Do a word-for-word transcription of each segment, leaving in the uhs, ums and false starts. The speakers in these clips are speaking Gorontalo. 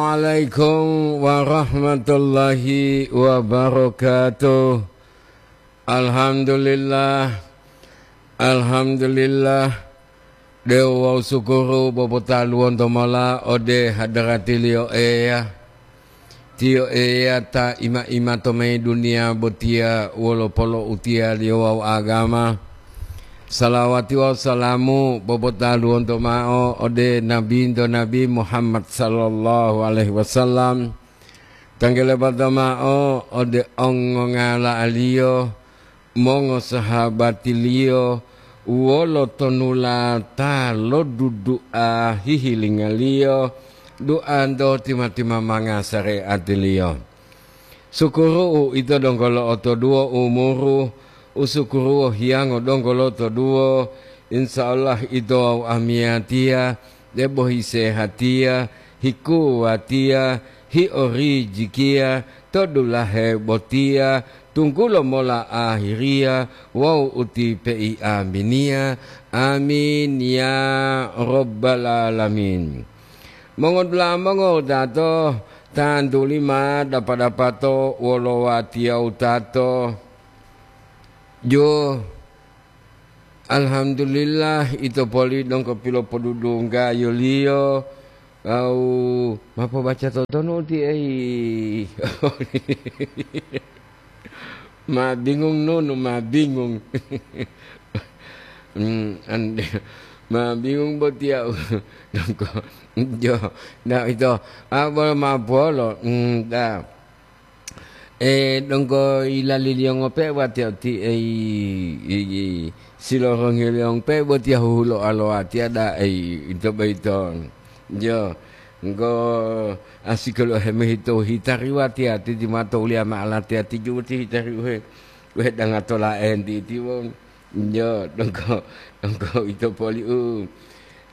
Assalamualaikum warahmatullahi wabarakatuh. Alhamdulillah. Alhamdulillah. De'u wawu sukuru popotaluwonto mola ode hadaratiliyo Eya. Tiyo Eya ta ima-ima to mayi duniya botiya wolo poloutiyaliyo wawu agama. Salawati wawu salamu popotaluwonto ma'o ode Nabinto Nabi Muhammad sallallahu alaihi wasallam. Tanggelebata ma'o ode ongongala'aliyo, mongosahabatiliyo, wolo tonulata lo dudu'a hihilingaliyo, du'anto tima-timamanga sare'atiliyo. Sukuru'u ito donggo lo'otoduwo umuru, usukuruwo hiyango donggo lo'otoduwo, insya Allah ito wawu amiyatiya, debo hisehatiya, hikuwatiya, hiorijikiya, to dulahe botiya, tunggulo mola ahiriya wawu uti pei'aminiya. Amin ya rabbal alamin. Mongodula'a mongowutato, tantuli ma dapa-dapato wolo watiya wutato. Jo, alhamdulillah, ito poli donggo pilopodudu ngayoliyo, wawu ma pobaca totonu uti, ei. Ma bingung nunu, ma bingung. Hmm, ande, ma bingung botiya u-, donggo. Jo, na ito, a, bolo ma polo, hmm, da. E, donggo ilaliliyo ngope watiya uti, ei, i, i, silorongiliyo ngope botiya huhulo alowatiya da, ei, ito boyito. Jo, ngo asikolo hemohito hitari watiya titi mato uliya ma'alatiya tiju ti hitari uhe, uhe danga tola enti itiwo. Jo, donggo, donggo ito poli u.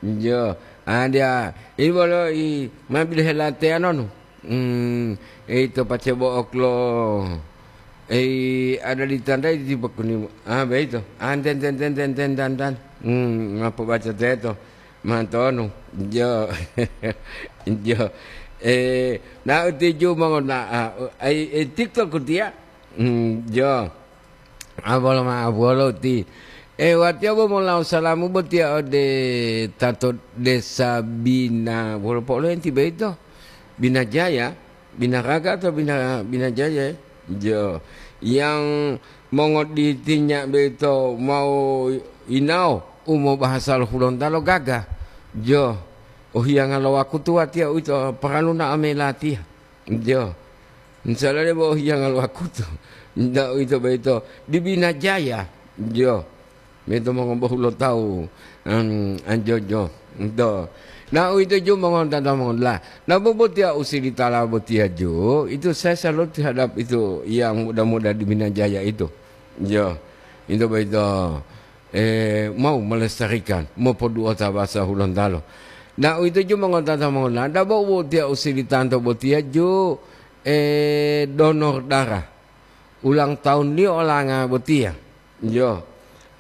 Jo, adia, i bolo i ma bilohe lateya nonu. Hmm, ito pacebo oklo. Ei, ada ditandai di bakuni. Ah, beito. Anten, ten, ten, ten, ten, tan, tan. Hmm, ma pobaca teto. Mantonu. Jo. Jo. Eh, na utiju mongona, ah, ai, eh, TikTok kutia. Hmm, jo. Abolo ma abolo ti. Eh, watiya bo molau salamu botiya ode tato desa Bina, wolo po'olo enti beito? Bina Jaya, Bina Raga atau Bina, Bina Jaya, eh? Jo. Yang mongoditinya beito mau inao, u mobahasa lo Hulontalo gaga. Jo. Ohiyanga lo wakutu watiya uwito paralu na'o mayi latiya. Jo. Insya Allah debo hiyanga lo wakutu. Nda uwito boyito di Bina Jaya. Jo. Mito mongobohulotawu, em, anjojo. Do. Na uwito ju mongontata mongola. Na bobotiya usilitala botiya ju, itu saya salut terhadap itu yang muda-muda di Bina Jaya itu. Jo. Itu boyito. Eh, mau melestarikan, mopoduota bahasa Hulontalo. Na uwito ju mongotata mongolanta bo utiya usilitanto botiya ju, eh, donor darah. Ulang tahunliyo olanga botiya. Yo,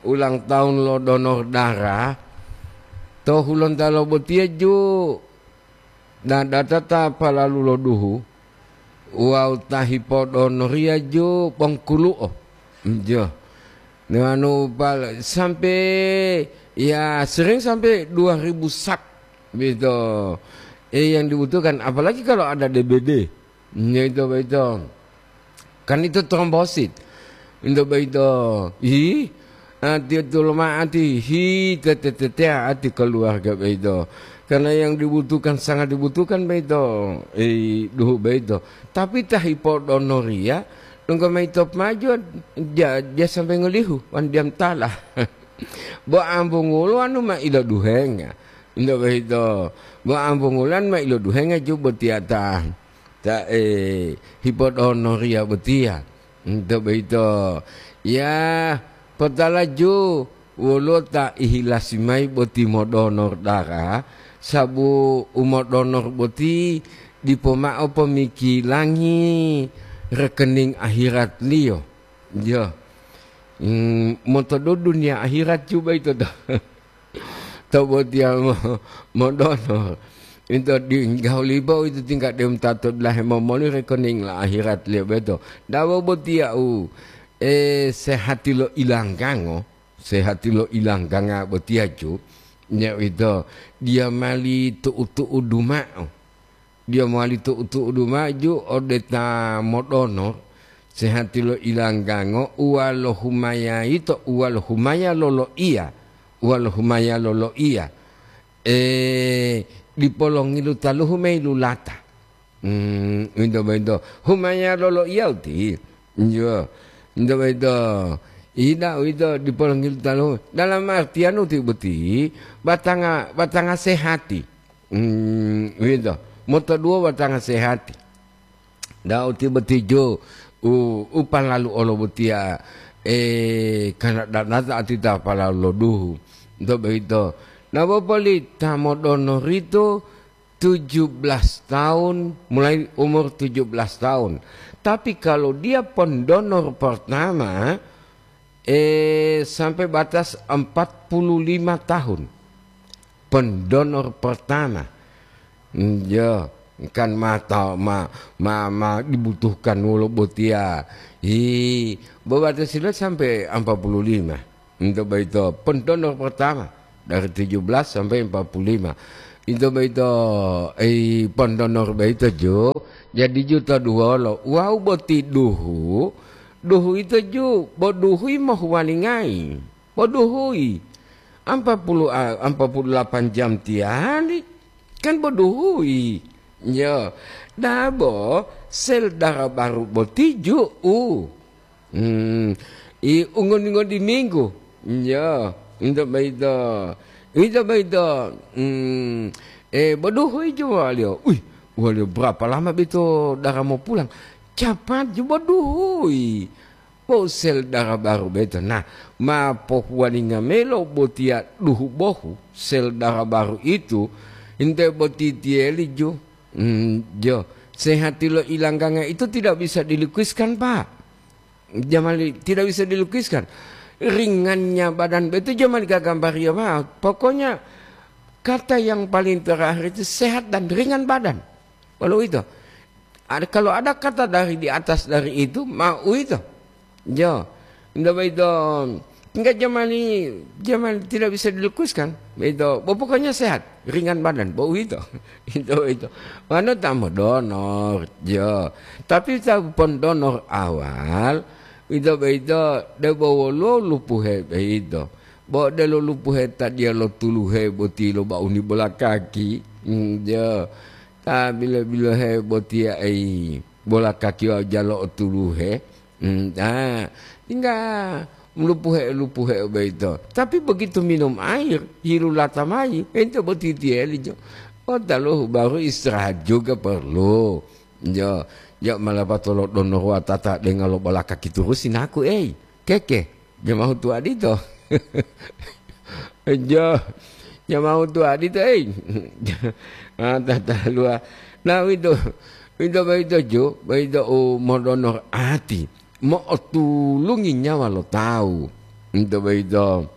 ulang tahun lo donor darah to Hulontalo botiya ju. Na datata palalu lo duhu wawu ta hipodonoriya ju bongkulu'o. Jo. Newanu pal-, sampai, ya, sering sampai dua ribu sak, gitu. Eh, yang dibutuhkan, apalagi kalau ada D B D. Ya, itu, itu. Kan itu trombosit. Untuk begitu, ih, ati tuluma'ati, hi, tete-tete, ati keluarga begitu. Karena yang dibutuhkan, sangat dibutuhkan begitu, eh, duhu begitu. Tapi ta hipodonoriya, donggo maito pemajuan, ja-, ja sampai ngolihu, wan diam tala. Bo ambungulo anu ma iloduhenga. Untuk begitu, bo ambungulan ma iloduhenga ju botiya ta. Ta, eh, hipodonoriya botiya. Nto boyito, ya, potalaju woluwo ta ihilasi mayi boti modonor dara, sabu u modonor boti dipo mao pomikilangi rekening ahiratliyo. Yo. Mm, monto do duniya ahirat ju boyito do. To botiya mo-, modonor. Ito di gahuli bo ito tingkat deu ta to dulahe momoli rekening la akhirat liyo beto. Dawo botiya u, eh, sehati lo ilanggango, sehati lo ilangganga botiya ju, nya ito dia mali tu'u-tu'udu ma'o. Dia mali tu'u-tu'udu ma'o ju ode ta modonor, sehati lo ilanggango uwalo humaya ito, uwalo humaya loloiya, uwalo humaya loloiya. Eh, dipo longilu taluhu mayi lulata. Hmm, uwito boyito. Humaya loloiya uti. Iyo. Uwito boyito. Ida uwito dipo longilu taluhu. Dalam artian uti boti, batanga, batanga sehati. Hmm, uwito. Motoduwo batanga sehati. Dau ti botijo u, u palalu olo botiya, eh, kana danata atita palalu loduhu. Nto boyito. Na bopoli ta modonor ito tujuh belas tahun, mulai umur tujuh belas tahun. Tapi kalau dia pendonor pertama, eh, sampai batas empat puluh lima tahun. Pendonor pertama. Ya, kan ma ta-, ma, ma, ma dibutuhkan wolo botiya. Hi, bobatasi lo sampai empat puluh lima. Untuk boyito, pendonor pertama dari tujuh belas sampai empat puluh lima. Untuk boyito, eh, pendonor boyito ju, jadi juta duwolo. Wau boti duhu, duhu ito ju, bo duhui mohuwalingai. Bo duhui. Ampa puluh, a, ampa puluh delapan jam tiyali. Kan bo duhui. Yo. Dabo sel dara baru boti ju'u. Hmm. I ungodi-ngodi minggu. Yo. Into boyito. Into boyito. Hmm. Eh, bo duhui ju waliyo. Wih, waliyo berapa lama bito dara mopulang? Capat ju bo duhui. Bo sel dara baru boyito, nah, ma pohuwalinga mayi lo botiya duhu bohu sel dara baru itu, inte boti tiyeli ju. Hmm, jo, sehati lo ilangganga itu tidak bisa dilukiskan, Pak. Jamali, tidak bisa dilukiskan. Ringannya badan boyito jamali gagambariyo ma'o. Pokoknya kata yang paling terakhir itu sehat dan ringan badan. Wolo uwito. Ada, kalau ada kata dari di atas dari itu, ma uwito. Jo, nda boyito, enggak jamani, jamani tidak bisa dilukiskan. Boyito, bo pokoknya sehat, ringan badan, bo uwito. Itu, itu. Manu ta modonor, jo. Tapi ta pon donor awal, ito boyito, debo wolo lupuhe boyito. Bo delo lupuhe ta diya lo tuluhe boti lo bauni bola kaki. Hmm, jo. Ta bilo-bilohe botiya ei, bola kaki wawu jalo otuluhe. Hmm, ah, tingga lupuhe-lupuhe boyito. Tapi begitu minum air, hilulata mayi, ente boti tiyeli jo. Oh, taluhu baru istirahat juga perlu. Jo, jo malapato lo donor watata denga lo bola kaki turusi naku, ei. Keke, jamahu tuwadito. Jo, jamahu tuwadito, ei. Ah, tataluwa. Nah, wito, wito boyito ju, boyito u modonor ati, mo'otulungi nyawa lo tawu. Wito boyito.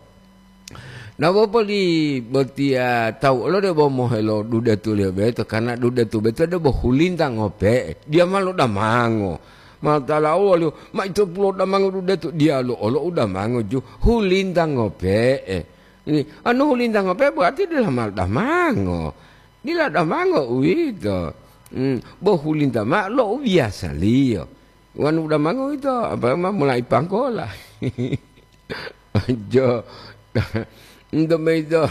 Na bopoli botiya tawu olo debo mohelo dudetuliyo boyito, karna dudetu boyito debo hulinta ngope'e, diya ma lodamango. Ma'o tala woliyo, ma ito pulodamango dudetu, diyalu olo udamango ju, hulinta ngope'e. Ini, anu hulinta ngope'e berarti dila ma lodamango. Dila damango uwito. Hmm, bo hulinta ma'o lo ubiyasaliyo. Wanu udamango uwito, apa ma mulai panggola. Jo. Nto boyito,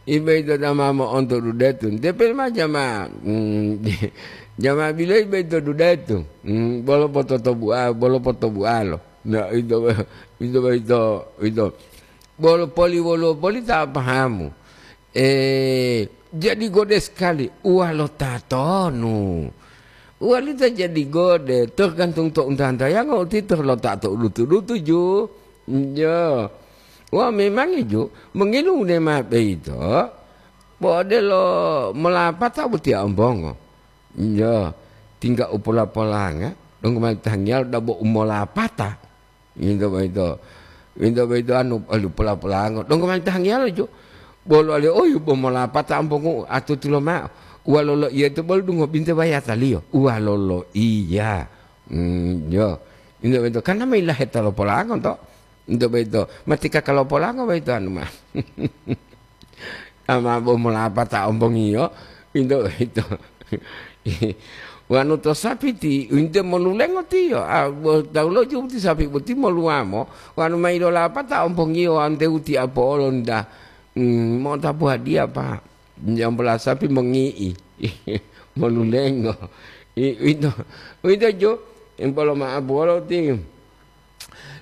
i boyito ta ma mo'onto dudetu. Nte pele ma jama, mm, jama biloyi boyito dudetu. Mm, bolo pototobu'a-, bolo potobu'alo. Nah, ito, ito boyito, ito. Bolo poli, wolo poli ta pahamu. Eh, jadi gode sekali, uwalo tatonu. Uwalita jadi gode, tergantung to unta-untayango utito lo ta to dutu-dutu ju. Yo. Wah, memangi ju, mengilungu ne ma boyito, bo odelo molapata botiya ombongo. Yo, tingga u pola-polanga, donggo mali tanggiyalo dabo u molapata. Into boyito, into boyito anu, alu pola-polango. Donggo mali tanggiyalo jo. Bolo ale, oyu bo molapata ombongo atutulo ma'o. Uwa loloiya to bolo dungo binte bayataliyo. Uwa loloiya. Hmm, yo. Into boyito, kan ma ilaheta lo polango to. Into boyito, mati kaka lo polango boyito anu ma. Ama bo molapata ombongiyo, into boyito. Wanu to sapiti, inte molulengo tiyo. Ah, bo taulo jubuti sapi boti moluwamo, wanu ma ilolapata ombongiyo, wante uti apo'olo nda. Hmm, mo'otapu hadiya, Pak. Jambola sapi mongi'i, molulengo. I-, uwito, uwito ju, impolo ma'apuwolo ti.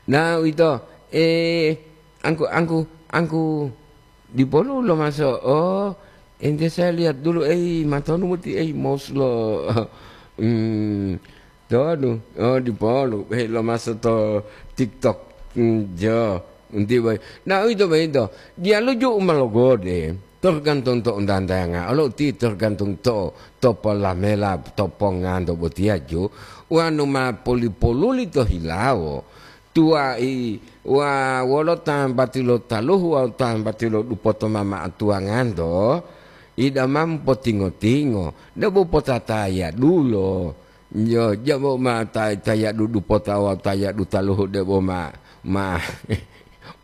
Na uwito, eh, angku, angku, angku dipolu lomaso, oh, ente saya lihat dulu, eh, matonu muti, eh, mouse lo, hmm, Tonu, oh, dipolu, eh, lomaso to TikTok, hmm, jo, unti boy. Na uwito boyito, diyalu ju u ma logode, tergantung to untantayanga, olo uti tergantung to, to polamela, to ponganto botiya ju, wanu ma poli-poluli to hilawo, tuwai, wa wolo tambati lo taluhu wawu tambati lo dupoto ma ma'atuwanganto, ida ma mopotingo-tingo, debo potataya dulo. Yo, jabo ma ta-, tayadu dupota wawu tayadu taluhu debo ma, ma,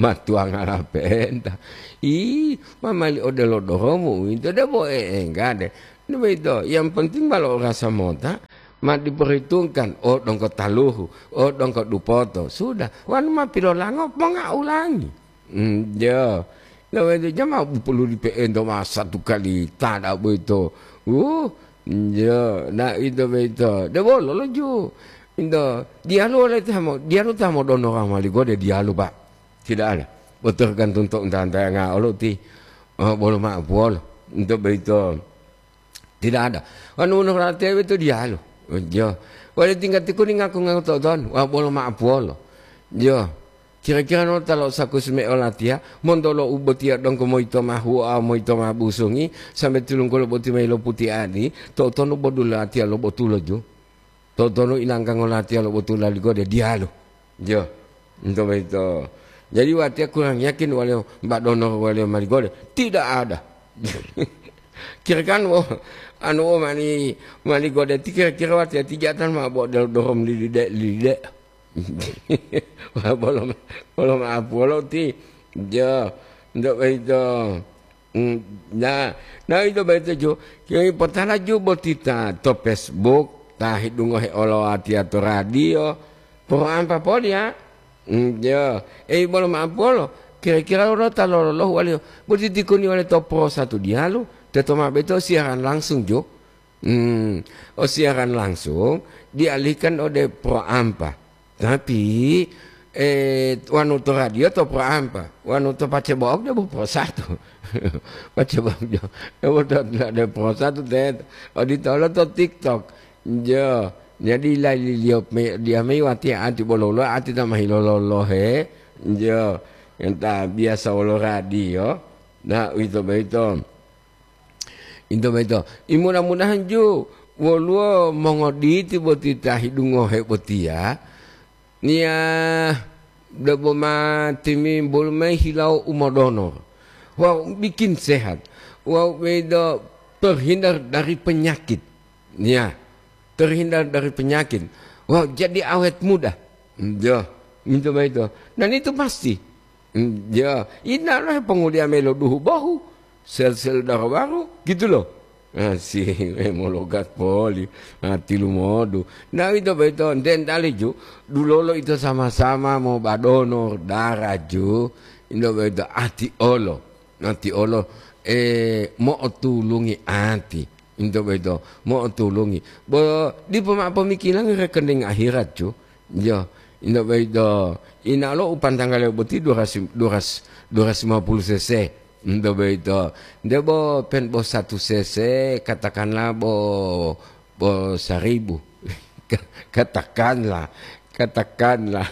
ma tuwangala pe'enta. Ih, ma mali odelo doromu uwito debo e'enggade. Ini boyito, yang penting ma lo'orasa mota, ma diperhitungkan, oh, dongko taluhu, oh, dongko dupoto. Sudah, wanu ma pilolango, pongaulangi. Hmm, jo. Nah, itu jama pulu di P N to ma satu kali tada boyito. Uh, jo, nah, itu boyito. De bolo lo ju. Into, diyalu oleh tamo, diyalu tamo dono mali gode diyalu, Pak. Tidak ada. Bo tergantung to untantayanga olo ti. Oh, bolo ma buwolo. Into boyito. Tidak ada. Wanu wonu latiya boyito diyalu. Jo. Wale tingga tikuni ngaku-ngaku to'otonu. Wa bolo ma'apuwolo. Jo. Kira-kira no ta lo'osakusi me olatiya, monto lo u botiya donggo moyito ma huwoa, moyito ma busungi, sambe tilunggulo boti mayi lo putiani, to'otonu bodu latiya lo botulo ju. To'otonu ilanggango latiya lo botu laligode diyalu. Jo, into boyito. Jadi watiya kurang yakin waliyo mba'dono waliyo maligode. Tidak ada. Kira-kira wo, anu wo mani, maligode ti kira-kira watiya ti jatan ma bo del dorom lilide, lilide. Wah, bolo, bolo ma'apuwolo ti. Jo, into boyito. Hmm, na, na ito boyito ju, kami potala ju boti ta to Facebook, ta hidungohe olowatiya to radio, poro ampa poli ya. Hmm, jo, ei bolo ma'apuwolo, kira-kira wolo ta lololohu waliyo, boti tikuni wale to poro satu diyalu, teto ma boyito siaran langsung ju. Hmm, o siaran langsung dialihkan ode poro ampa. Tapi, eh, wanu to radio to poro ampa, wanu to pacebo'ok debo poro satu. Pacebo'ok jo, debo to, to, debo poro satu teto. Oditolo to TikTok. Jo, jadi laliliyo me, dia mei watiya ati bolo-bolo ati ta ma hilololohe. Jo, enta biasa wolo radio. Nah, uwito boyito. Into boyito, i mudah-mudahan ju woluwo mongoditi boti ta hidungohe botiya, niya debo ma timimbulu mayi hilawo u modonor wawu bikin sehat, wawu boyito terhindar dari penyakit. Niya, terhindar dari penyakit. Wawu jadi awet muda. Jo, into boyito. Dan itu pasti. Mm, ya, ina lo heponguliya mayi lo duhu bohu, sel-sel daro baru, gitu loh. Ah, si, eh, mologat poli, ah, tilumodu. Nah, ito boyito, enten tali ju, dulolo ito sama-sama mobadono dara ju, ito boyito ati olo, ati olo, eh, mo'otulungi ati, ito boyito, mo'otulungi. Bo, dipo ma'o pomikilangi rekening akhirat ju, Yo, ento boyito, inalo u pantanggaliyo boti dua ratus, dua ratus, dua ratus lima puluh cc. Ento boyito, debo pen bo satu cc, katakanlah bo, bo seribu. Katakanlah, katakanlah.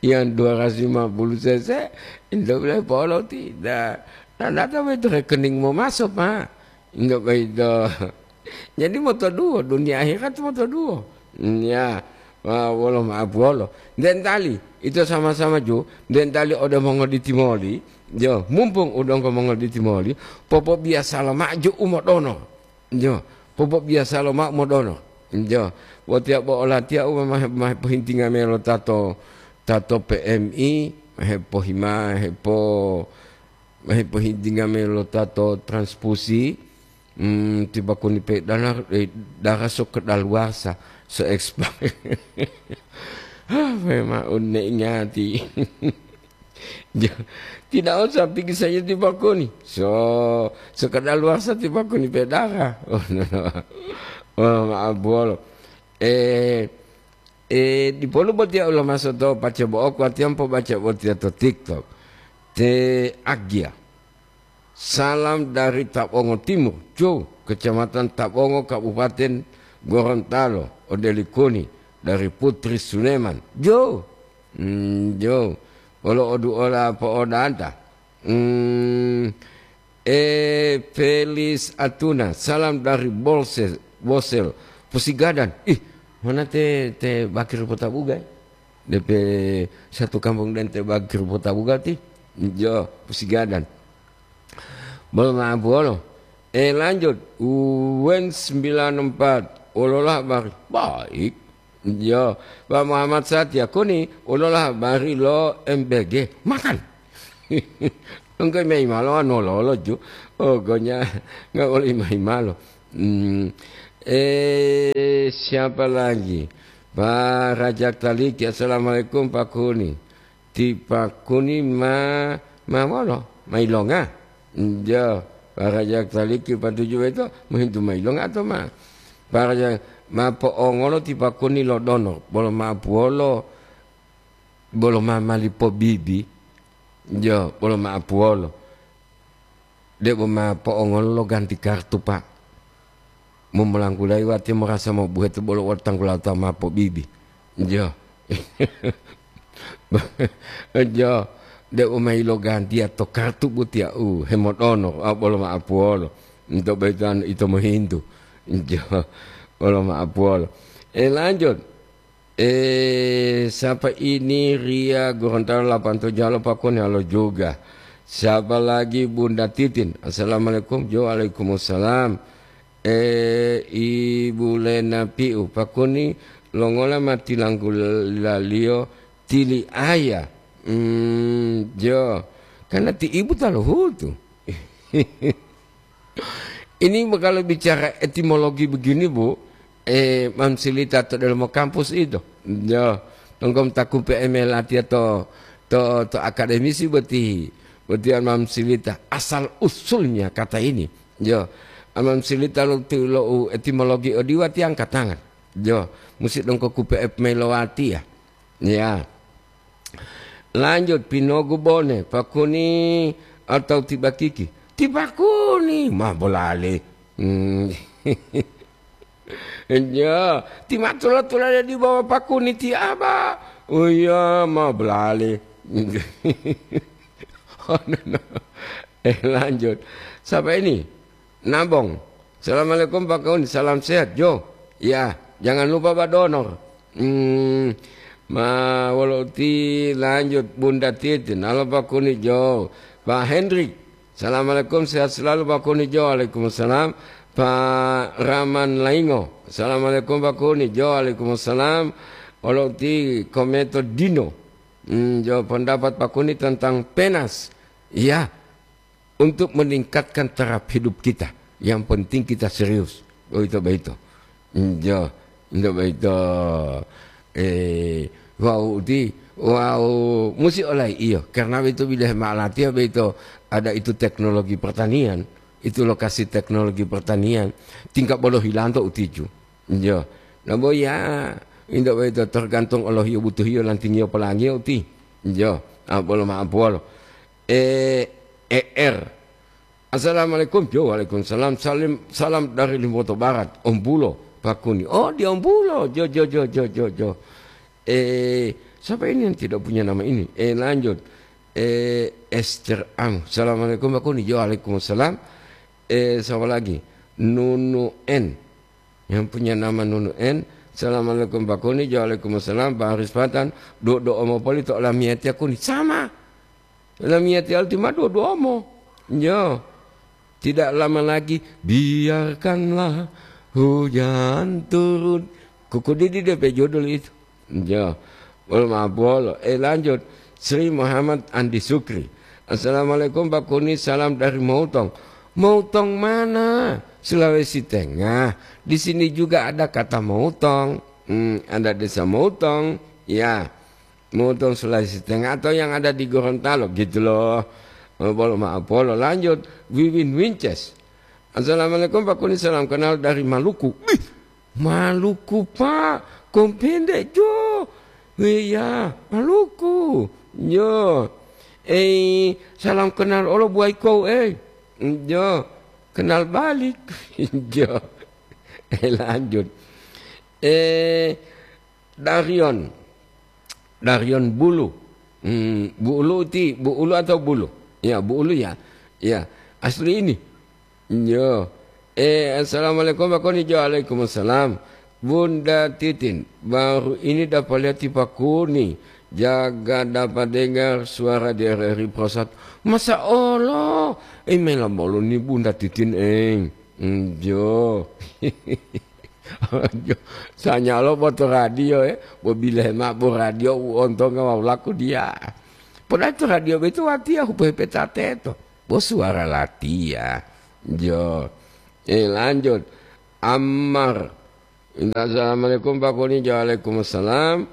Yang dua ratus lima puluh cc, ento boleh polo tidak. Nah, data boyito rekening momaso, Pak. Enggak boyito. Jadi motoduwo, dunia akhirat motoduwo. Ya, wa-, wolo ma'apuwolo. Dentali, ito sama-sama ju, dentali ode mongoditi moli, jo, mumpung u donggo mongoditi moli, popobiyasalo ma'o ju u modonor. Jo, popobiasa lomao modonor. Jo, watiya bo olatiya u ma, ma hepohintinga mayi lo tato, tato P M I, ma hepohima-, hepo-, ma hepohintinga mayi lo tato transfusi, hmm, tiba koni pe dana, eh, darah so kedaluarsa, so expire. Hah, memang udah ingati. Ja-, tidak usah pikir saja tiba koni. So, so kedaluarsa tiba koni pe darah. Oh, no, no. Oh, maaf bolo. Eh, eh, dipolu botiya ulama soto pace bo'oku, watiya mopobaca botiya to TikTok. Te Agia. Salam dari Tabongo Timur, Jo, Kecamatan Tabongo, Kabupaten Gorontalo, ode Likuni, dari Putri Suleman. Jo. Hmm, Jo. Wolo oduola po'odanta. Hmm, eh, Felis Atuna, salam dari Bolsel, Bosel, Pusigadan. Ih, mana te, te Bakir Potabuga, eh? Depe satu kampung dan te Bakir Potabuga ti. Jo, Pusigadan. Bolo maaf wolo. Eh, lanjut. Wen sembilan empat. Wololah habari. Baik. Yo, Pak Muhammad Satya kuni, ulola habari lo M B G. Makan. Engke mayi malo anu lolo ju. Oh, gonya, nggak boleh mayi malo. Hmm. Eh, siapa lagi? Pak Rajak Taliki, assalamualaikum Pak Kuni. Ti Pak Kuni ma, ma molo, ma ilonga? Njo, Pak Rajak Taliki patuju boyito mohintu ma ilonga atau ma? Pak Rajak, ma po'ongolo ti Pak Kuni lo donor, bolo ma apuwolo, bolo ma mali pobibi, njo, bolo ma apuwolo. Debo ma po'ongolo lo ganti kartu, Pak. Momolanggulayi watiya morasa mobuheto bolo wolo tanggula ta ma pobibi. Jo. Jo. Debo ma ilogantiya to kartu botiya u hemodono, a, bolo ma apuwolo. Nto boyito anu ito mohintu. Jo. Bolo ma apuwolo. Eh, lanjut. Eh, siapa ini? Ria Gorontalo delapan tujuh, halo Pak Kuni, halo juga. Siapa lagi? Bunda Titin. Assalamualaikum. Jo, waalaikumsalam. Eh, Ibu Lena Piu, Pak Kuni, longola ma tilanggulaliyo tili aya? Hmm, jo. Karena ti ibu ta lohutu. Ini kalau bicara etimologi begini, Bu, eh, mamsilita to delomo kampus itu. Jo, tongkom takupe eme latiya to, to, to akademisi boti, boti mamsilita asal usulnya kata ini. Jo, mamsilita lo, lo etimologi odiwa tiang katangan. Jo, musi dongko kupe ep melowati ya. Ya. Lanjut, pinogu bone, Pak Kuni atau ti Bakiki? Ti Pak Kuni, ma bolale. Hmm. Ya, ti ma tula-tulade di bawah Pak Kuni ti aba. Oh iya, ma bolale. Oh, no, no. Eh, lanjut. Siapa ini? Nabong. Assalamualaikum Pak Kuni, salam sehat, Jo. Ya, jangan lupa Pak Donor. Hmm, ma wolo uti lanjut Bunda Titin, halo Pak Kuni, Jo. Pak Hendrik, assalamualaikum, sehat selalu Pak Kuni, Jo. Waalaikumsalam. Pak Raman Laingo, assalamualaikum Pak Kuni, Jo. Waalaikumsalam. Wolo uti Kometo Dino. Hmm, Jo, pendapat Pak Kuni tentang penas. Iya, untuk meningkatkan taraf hidup kita. Yang penting kita serius. Boyito, boyito. Injo, injo boyito. Eh, wau uti, wau musi olai iyo. Karena boyito bidahe ma'alatiya boyito ada itu teknologi pertanian. Itu lokasi teknologi pertanian. Tingkat bolo hilanto utiju. Injo. Nah, boya, injo boyito tergantung olohiyo butuhiyo lantingiyo polangiyo uti. Injo. Ah, bolo ma'apuwolo. Eh, E R. Assalamualaikum. Jo, waalaikumsalam. Salim, salam dari Limboto Barat. Om Bulo, Pak Kuni. Oh, di Om Bulo. Jo, jo, jo, jo, jo, jo. Eh, siapa ini yang tidak punya nama ini? Eh, lanjut. Eh, Esther Ang. Assalamualaikum, Pak Kuni. Jo, waalaikumsalam. Eh, siapa lagi? Nunu N. Yang punya nama Nunu N. Assalamualaikum, Pak Kuni. Jo, waalaikumsalam. Pak Haris Patan. Do, do omo poli to lamiyatiya Kuni. Sama. Lamiyati alti ma dua-dua mo. Yo. Tidak lama lagi, biarkanlah hujan turun. Kuku Didi D P judul itu. Jo. Bolo mabolo. Eh, lanjut. Sri Muhammad Andi Sukri. "Assalamualaikum Pak Kuni, salam dari Moutong." Moutong mana? Sulawesi Tengah. Di sini juga ada kata Moutong. Hmm, ada desa Moutong. Ya. Moutong Sulawesi Tengah atau yang ada di Gorontalo gitu loh. Eh, bolo mabolo. Lanjut. Wiwin Winces. "Assalamualaikum Pak Kuni, salam kenal dari Maluku." Bih, Maluku, Pak. Kompende, Jo. Iya, Maluku. Jo. Eh, salam kenal olo buai kou, eh. Jo. Kenal balik. Jo. Eh, lanjut. Eh, Darion. Darion Bulu. Hmm, Bu Ulu ti, Bu Ulu atau Bulu? Ya, Bu Ulu ya. Ya, asli ini. Yo. Eh, assalamualaikum Pak Kuni. Waalaikumsalam. Bunda Titin, baru ini dapat lihat Pak Kuni. Jaga dapat dengar suara di R R I Prosat. Masa Allah. Eh, mela bolu ni Bunda Titin, eh. Hmm, jo. Jo, sanyalo bo to radio, eh. Bo bilehe mao bo radio u ontonga wawu laku dia. Podatu radio boyito watiya hupe-hupeta teto. Bo suara latiya. Jo. Eh, lanjut. Ammar. Minta assalamualaikum, Pak Kuni. Waalaikumsalam.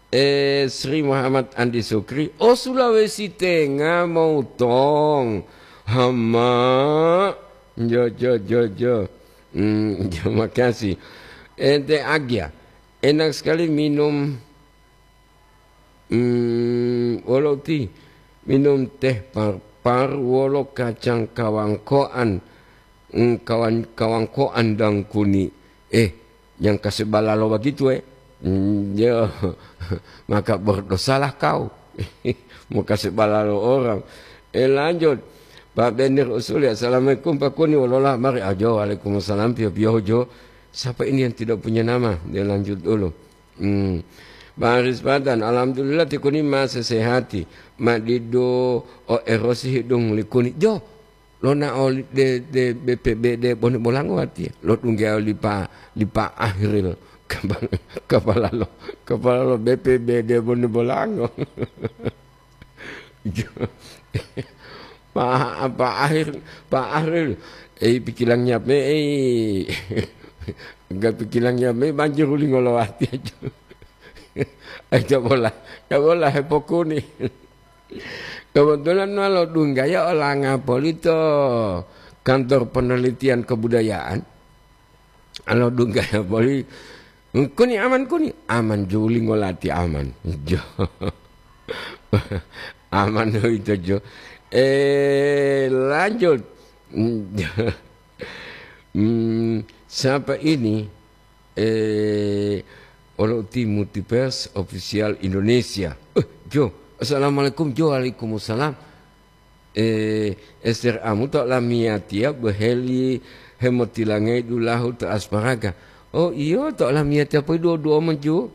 Eh, Sri Muhammad Andi Sukri. Oh, Sulawesi Tengah, Moutong. Hama. Jo, jo, jo, jo. Hmm, terima kasih. Ente Agia. Enak sekali minum. Hmm, wolo ti minum teh parpar wolo kacang kawangkoan, hmm, kawan-, kawangkoan dan kuni. Eh, yang kasih balalo begitu, eh. Hmm, ya, maka berdosalah kau. Mau kasih balalo orang. Eh, lanjut. Pak Benir Usuli, "Assalamualaikum, Pak Kuni, wolola mari ajo." "Waalaikumsalam, pio-pio jo." Siapa ini yang tidak punya nama? Dia lanjut dulu. Hmm. Baris Patan, alhamdulillah ti kuni ma sesehati, ma didu o erosi hidung li kuni. Jo, lonao li de, de B P B D Bone Bolango watiya. Lo tungge li pa, li pa Ahril. Kapala, kapala lo, kapala lo B P B D Bone Bolango. Pak, Pak Ahril, Pak Ahril, eh, pikilang nyape, eh. Enggak pikilang nyape, banjir uli ngolowati aja. Eh, cobola, cobola hepokuni. Kebetulan walo dunggaya olanga polito kantor penelitian kebudayaan. Alo dunggaya boli, "Kuni aman, kuni." "Aman, juli ngolati aman." Jo. Aman itu, Jo. Eh, lanjut. Hmm, siapa ini? Eh, Olo Timothy Pers Official Indonesia. Eh, Jo. Assalamualaikum, Jo. Waalaikumsalam. Eh, Ester Amu to lamiyatiya boheli hemotilangai dulahu to asparaga. Oh, iyo, to lamiyatiya poi duo-duo maju.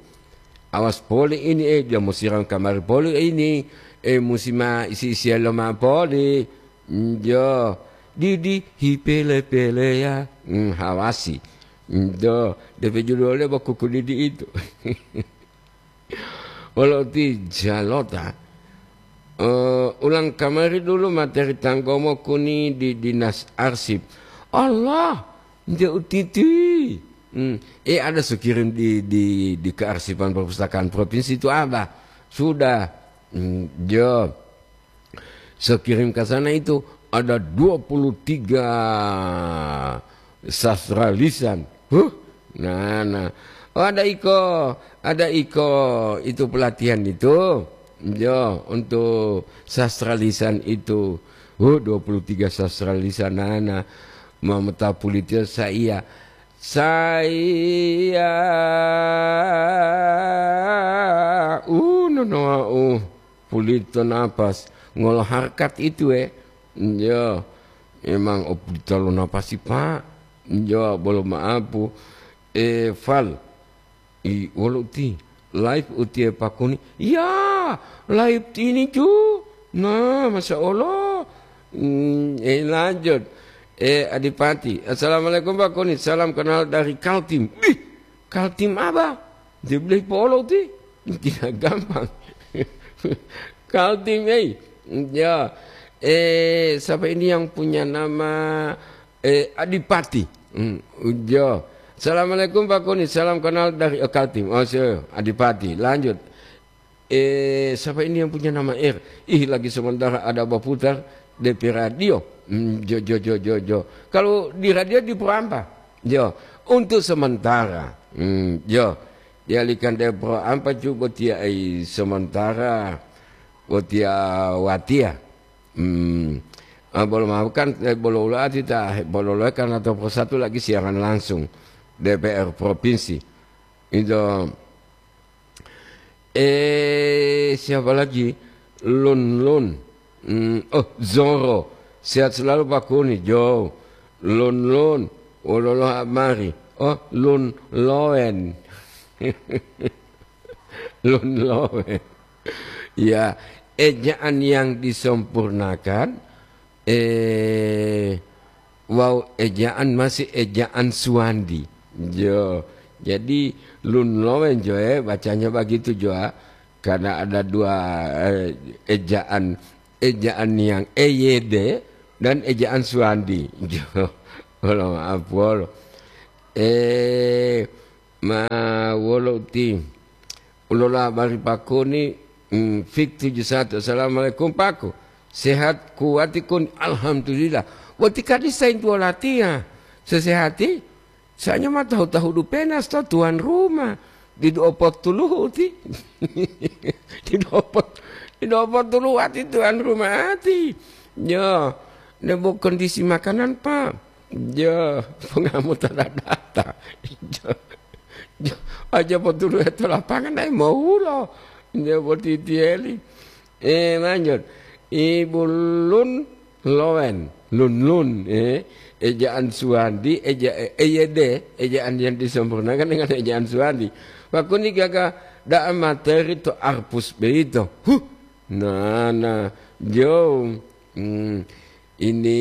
Awas poli ini, eh, dia mo siram kamari poli ini. Eh, musi ma isi-isiya lo ma poli. Njo, didi hipele-peleya. Hmm, hawasi. Njo, depe judulnya bakuku didi itu. Wolo ti jalota, eh, ulang kamari dulu materi tanggomo kuni di dinas arsip. Allah, nde utiti. Hmm, eh, ada sukirim di, di, di kearsipan perpustakaan provinsi itu, Abah. Sudah. Hmm, jo. Saya kirim ke sana itu ada dua puluh tiga sastra lisan. Huh? Nah, nah. Oh, ada iko, ada iko itu pelatihan itu. Yo, untuk sastra lisan itu. Huh, dua puluh tiga sastra lisan. Nah, nah. Mameta pulitian saya. Saya, uh, nonoa, uh. Pulito napas, ngolo harkat itu, eh. Iya, emang o pulito lo napasi, Pak. Iya, bolo maapu. Eh, Fal, i, wolo uti, live uti e pakuni. Iya, live tini ju. Nah, Masya Allah. Hmm, eh, lanjut. Eh, Adipati. "Assalamualaikum, Pak Koni. Salam kenal dari Kaltim." Ih, Kaltim apa? Dia bilang polo ti. Tidak gampang. Kaltim, eh. Ya. Eh, siapa ini yang punya nama, eh, Adipati? Hmm, ya. "Assalamualaikum, Pak Koni. Salam kenal dari, eh, Kaltim." Oh, so, Adipati. Lanjut. Eh, siapa ini yang punya nama R? Ih, lagi sementara ada berputar D P radio. Hmm, jo, jo, jo, jo, jo. Kalau di radio di Pro Ampa? Jo, untuk sementara. Hmm, jo. Dialihkan dari Pro Ampa juga botia ai sementara. Botia watia. Hmm. Ah, bolo maaf kan, eh, bolo ulo ati ta, bolo lo kan atau Pro satu lagi siaran langsung D P R provinsi. Itu. Eh, siapa lagi? Lun Lun. Hmm, oh, Zoro. Sehat selalu, Pak Kuni. Jo. Lun Lun. Wololo mari. Oh, Lun Loen. Lun Loen. Ya, ejaan yang disempurnakan, eh, wawu ejaan masih ejaan Suwandi. Jo, jadi Lun Loen jo, eh, bacanya begitu jo, ah. Karena ada dua, eh, ejaan, ejaan yang E Y D dan ejaan Suwandi. Jo, wolo maaf, wolo. Eh, ma wolo uti. Ulola bari Pak Kuni, mm, fik tujuh satu. "Assalamualaikum, Pak Ku. Sehat kuwati Kuni?" "Alhamdulillah." "Wati kadi saintuwo latiya? Sesehati?" "Sa'anya ma tahu-tahu dupenas to tuan rumah. Didu opotuluhu ti." "Didu opot-, didu opotuluhu ati tuan rumah ati." "Ya, nebo kondisi makanan, Pak." "Ya, pengamu tata data." "Ya, ya, aja potuluhu to lapangan, ai mowulo." "Ya, boti tieli." Eh, lanjut. Ibu Lun Loen, Lun Lun, eh, ejaan Suwandi, eja-, eh, E Y D, ejaan yang disempurnakan dengan ejaan Suwandi. Pak Kuni gaga da'a materi to arpus beito. Huh, nana, jo. Hmm, ini,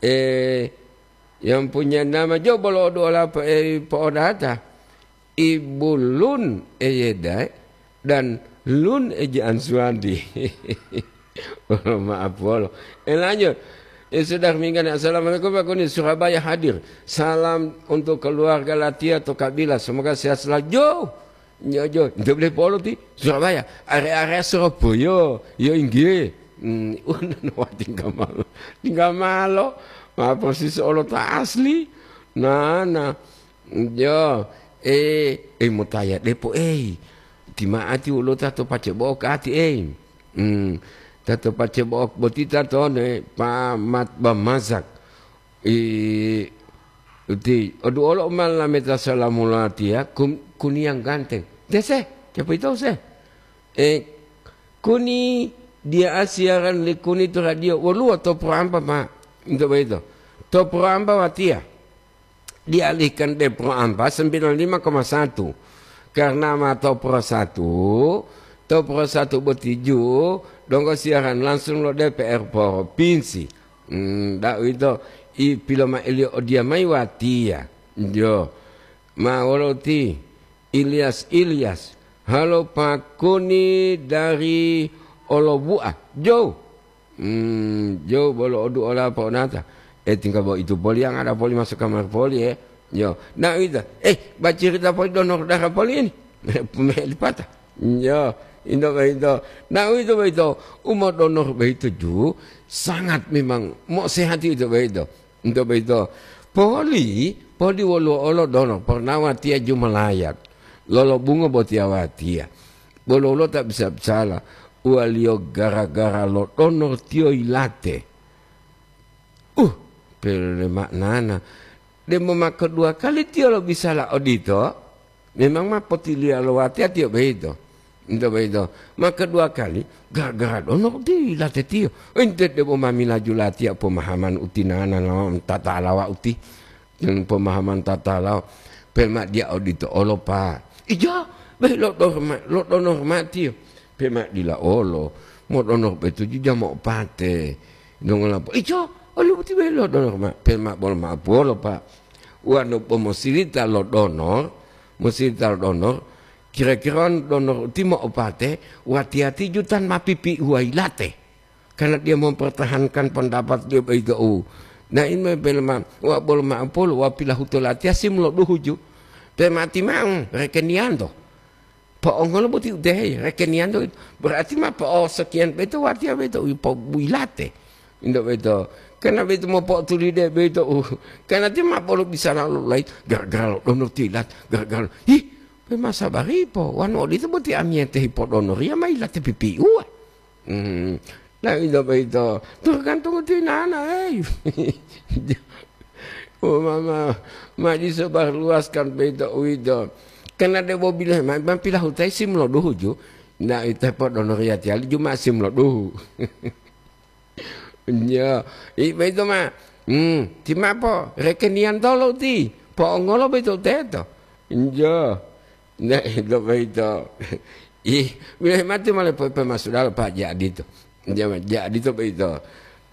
eh, yang punya nama jo bolo odu ola po-, eh, po'odata. Ibu Lun Eyedai dan Lun Ejaan Suwandi. Maaf, wolo. Eh, lanjut. Eh, sudah minggan. "Assalamualaikum, Pak Kuni. Surabaya hadir. Salam untuk keluarga Latia to Kabila. Semoga sehat selalu." Jo. Nyojo. Nte boleh polo ti. Surabaya. Area-area Surabaya. Yo, inggih. Hmm, wah, tinggal malo. Tinggal malo. Ma persis olo ta asli. Nah, nah. Yo, eh, eh, motaya depo, eh. Tima'ati wolo ta to pace bo'o kati, eh. Hmm. Ta to pace bo'o boti ta to ne, pa mat bamazak. I, uti, odu olo ma lameta salamu latiya, kun-, Kuni yang ganteng. Dese, siapa itu se? Eh, Kuni, dia siaran li Kuni to radio. Woluwo to Pro Ampa, ma. Untuk begitu. To Pro Ampa watiya. Dialihkan de Pro Ampa sembilan lima koma satu. Karena ma to Pro satu, to Pro satu boti ju, donggo siaran langsung lo D P R Provinsi. Hmm, da uwito, i piloma'eliyo odiya mayi watiya. Jo. Ma wolo ti Ilyas, Ilyas. Halo Pak Kuni dari Olobu'a. Jo. Hmm, jo bolo odu ola po'onata. Eh, tinggal bo itu poli yang ada poli masuk kamar poli, eh. Yo. Nah, itu. Eh, bacerita poli donor darah poli ini. Melipata. Yo, indo beito. Nah, itu beito. Umo donor beito ju sangat memang mau sehat itu beito. Indo beito. Poli, poli woluwo olo donor pernah watiya jumalayat. Lolo bungo botiya watiya. Bolo-bolo ta bisa bisala. Uwaliyo gara-gara lo donor tiyo yilate. Uh, pele maknana. Demo mako dua kali tiyo lobisala odito, memang ma potiliya lo watiya tiyo boyito. Ito boyito. Mako dua kali, gara-gara dono uti late tiyo. Ente demo ma milaju latiya pomahaman utinana lo tatalawa uti. Dan pomahaman tatalawa. Pema dia odito olo, Pak. Ija, be lo dono ma-, lo dono ma tiyo. Pema dila olo, mo dono betuju jamo pate. Dongolapo. Ijo, Olu'u boti bele lo donor ma, pe ma bolo ma'o puwolo, Pak. Wonu bo mosirita lo donor, mosirita lo donor, kira-kira donor uti mo'opate, watiya ti jutan ma pipi'uwa yilate. Karena dia mempertahankan pendapat dia begitu. Nah, ini bele ma, wa bolo ma'o puwolo, wa pilahuto latiya sim lo duhu ju. Pe mati ma'o, rekeniyanto. Po'ongolo boti udehe, rekeniyanto. Berarti ma po'o sekian beto watiya beto, wi po-, bu yilate. Indo beto. Karena beto mopo'otulide beto, uh. Karena ti ma bolo bisara lo lain, gara-gara lo donor tilat, gara-gara. Ih, pe ma sabari po, wanu odito boti amiyete hipodonoriya ma yilate pipi'uwa. Hmm. Nah, ito boyito tergantung ti nana, hei. Oh, mama, ma diso barluaskan boyito uwito. Karena debo bilang, ma, ma pilahutai sim lo duhu ju. Nah, ito podono riyati ali ju ma sim lo duhu. Ya, i boyito ma. Hmm, ti mapo, rekeniyan tolo ti. Po'ongolo boyito teto. Iya. Nah, ito boyito. Ih, bilahe mati male pe, pe masudalo, Pak, jadi to. Jadi to boyito.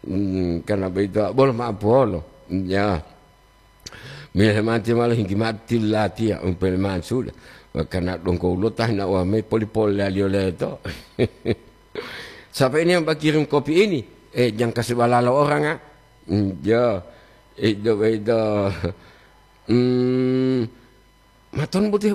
Hmm, karena boyito, bolo ma'o puwolo. Ya. Bilahe mati male hinggi mati latiya, umpele masuda. Karena dongko ulo tahina uwa me poli-poli laliyo leto. Siapa ini yang kirim kopi ini? Eh, jangan kasih balalo orang, ah. Hmm, ya. Ito boyito. Hmm, maton boti